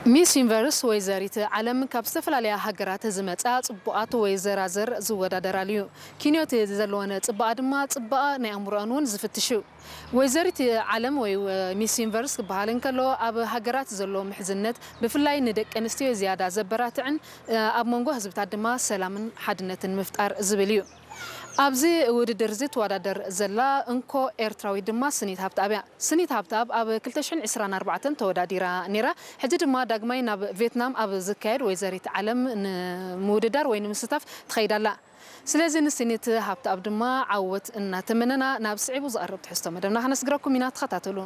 ሚስ ዩኒቨርስ ወይዘሪት ዓለም ካብ ዝተፈላለያ ሃገራት ዝመጻ ጽቡቓት ወይዘራዘር ዝወዳደራሉ እዩ። ኪንዮት ዘለወን ጽባቐ ድማ ጽባቐ ናይ ኣእምሮኣን እውን ዝፍትሽ እዩ። ወይዘሪት ዓለም ወይ ሚስ ዩኒቨርስ ክበሃል እንከሎ ኣብ ሃገራት ዘሎ ምሕዝነት ብፍላይ ንደቂ ኣንስትዮ ዝያዳ ዘበራትዕን ኣብ መንጎ ህዝብታት ድማ ሰላምን ሓድነትን ምፍጣር ዝብል እዩ። ኣብዚ ውድድር እዚ ትወዳደር ዘላ እንኮ ኤርትራዊት ድማ ስኒት ሃብተኣብ እያ። ስኒት ሃብተኣብ ኣብ ክልተ ሽሕን ዕስራን ኣርባዕተን ተወዳዲራ ነይራ። ሕጂ ድማ ዳግማይ ናብ ቬትናም ኣብ ዝካየድ ወይዘሪት ዓለም ንምውድዳር ወይ ንምስታፍ ትኸይድ ኣላ። ስለዚ ንስኒት ሃብተኣብ ድማ ዓወት እናተመነና ናብ ስዒቡ ዝቐርብ ትሕዝቶ መደብና ከነስግረኩም ኢና። ተኸታተሉ።